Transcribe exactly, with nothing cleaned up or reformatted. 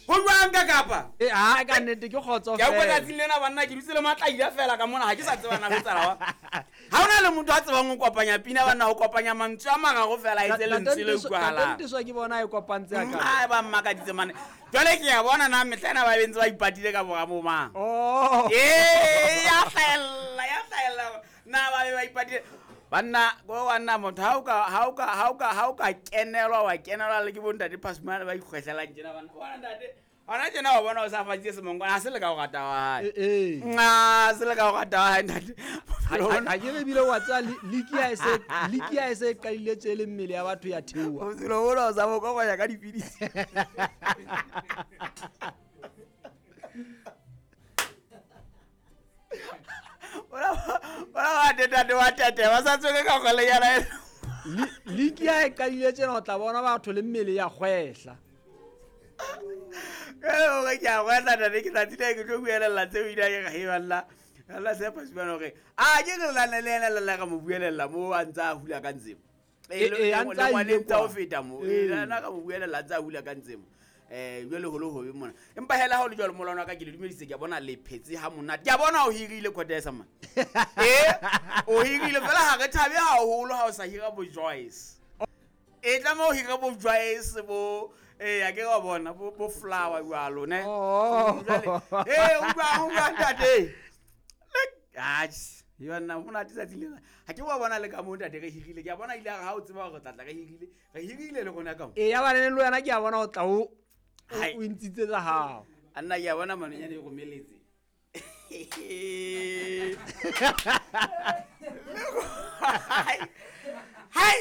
Ho jwang ka kapa? Eh ha ka nnete ke kgotso fela. Ke a utlwa tsatsing lena banna ke dutse le matlaila fela ka mona ha ke sa tseba na ho tsala wa. Ha hona le motho a tsebang ho kopanya pina banna ho kopanya mantswe a mararo fela e tse lentswe le utlwahalang. Ntate Ntiswa ke bona e kopantse a ka. Ai ba mmakaditse mane. Jwale ke a bona na mehla ena ba bentse ba ipatile ka bora bo mang. Oh. Eh ya hlahella ya hlahella na ba be ba ipatile. Banna go banna motho ha o ka ha o ka ha o ka ha o ka kenelwa wa kenelwa le ke bo ntate Pasmane ba ikgwehlelang tjena banna. Bona ntate hona tjena wa bona o sa fatse semongkwana ha se le ka o rata wa hae. Eh nna se le ka o rata wa hae ntate. Ha ke re bile wa tsa liki ya se liki ya se qadile tse le mmele ya batho ya theoha. O tselo bona o sa bo kopanya ka dipidisi. Ora ora wa tete wa tete ba sa tsweke ka gole ya la liki ya e qadile tjena o tla bona batho le mmele ya kgwehla. Ke hore ke a kgwehla ntate ke tsatsi le ke tlo buelella tseo ida ke ga e balla. Allah se pasibana hore a ke re lana le yena la ka mo buelella mo a ntsa hula ka ntsemo. E e a ntsa ile tsa ho feta mo. E lana ka mo buelella ntsa hula ka ntsemo. Eh jwale holo hobe mona. Empa hela ha o le jwalo molwana ka ke le dumedise ke a bona le phetse ha monate. Ke a bona o hirile Kotesa man. Eh o hirile fela ha re thabe haholo ha o sa hira bo Joyce. E tla mo hira bo Joyce bo eh a ke wa bona bo bo flower jwalo ne. Oh. Eh o ba o ba ntate. Atjhe, yona monate tsatsi lena. Ha ke wa bona le ka mo ntate re hirile. Ke a bona ile ha o tseba hore tlatla re hirile. Re hirile le rona ka mo. Eh ya ba le wena ke a bona o tla o o ntshitse tsa hao. Anna ke a bona manonyane e romeletse. Hai. Hai.